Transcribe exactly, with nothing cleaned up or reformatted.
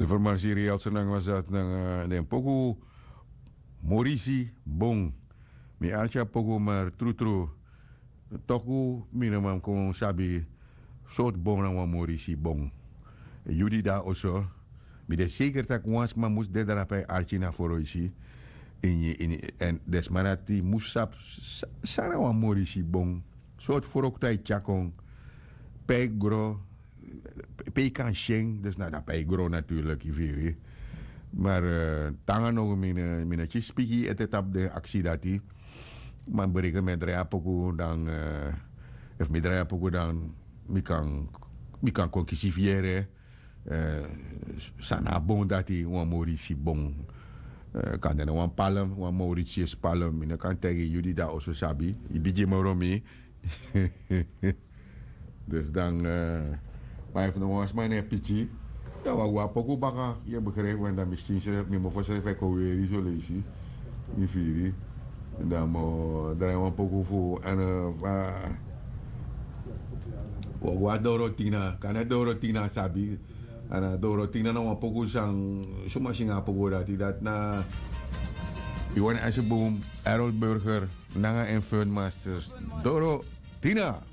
Informasi real senang was dat nanga den poku Morisi Bong. Mi arki a poku mar trutru toku mi no man kon sabi sortu bong na wan Morisi Bong. Yu di de na oso, mi de seker tak' wan sma mus de drape arki na foroisi. Ini ini èn den sma dati mus sabi san na wan Morisi Bong. Sortu froktu a e tyari kon, pe a e gro, pe yu kan si en. Dus na dape a e gro naturlik, yu firi. Mar te nanga now mi no kisi piki ete tapu den aksi dati. Ma mi bereken mi e drai a poku dan, efu mi drai a poku dan mi kan kon kisi fu yere san na a bon dati, wan Morisi bon. Kan de na wan palm, wan Mauritius palm, mi no kan taigi yu di de na oso sabi, yu bigi moro mi. Dus dan, ma efu no wan sma no e piki, dan wi a go na poku baka, yu e begrijpi, want dan mi skin srefi, mi mofo srefi e kon weri soleisi. Yu firi? Dan mi o drai wan poku fu en fa wi o go na Dorotina, kan na Dorotina sabi. Ana Dorotina na wan poku san suma singa a poku dati, dati na Iwan Asjeboom, Errol Burger nanga en Fun Masters. Dorotina.